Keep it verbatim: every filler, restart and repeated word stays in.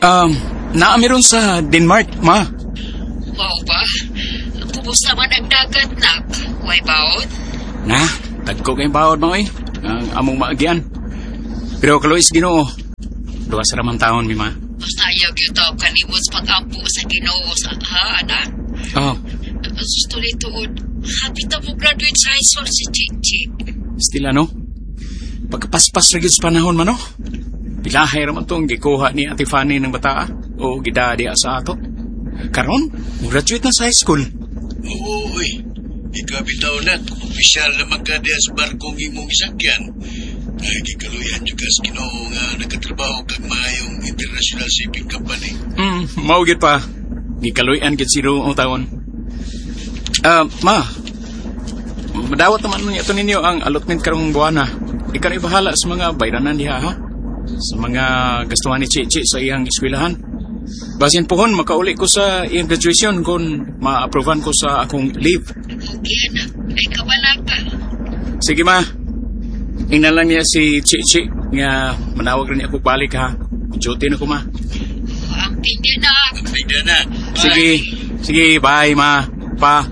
Um, naa mi ron sa Denmark, ma. Mao ba? Kumusta man ang dagat, nak? Way baod? Na, dagko kay baod ma oy. Ang among maagian. Pero kaluoy sa Ginoo. Luwas ra man taon mi ma. Basta ayaw gyud taw kalimot sa pag-ampo sa Ginoo sa ha, anak. Oh, Sus tuloy tuod. Hapit na mo graduate sa high school si Chichi. still ano? Pagkapaspas ra gyud sa panahon man no. Pilahay ra man tong gikuha ni Ate Fanny ng bataa o gida diha sa ato. Karon, graduate na sa high school. Oo, uy. Ikaw bitaw na, opisyal na man ka diha sa barkong imong isakyan. Ay, gikaluyan jud ka sa Ginoo nga nakatrabaho kag maayong international shipping company. Hmm, mao gyud pa. Gikaluyan gyud si Ginoo taon. Ah, ma. Madawat naman niya ito ninyo ang allotment karong buwana. Ikaw na bahala sa mga bayranan diha ha. Sa mga gastuhan ni Chichi sa iyang eskwelahan. Basin pohon makauli ko sa iyang graduation kung ma-approvean ko sa akong leave. Okay, anak. Ay, kabalaka. Sige ma. Ingnan lang niya si Chichi nga manawag rin ako balik ha. Duty na ko ma. Amping din, nak. Amping na. Sige. Sige, bye ma. Pa.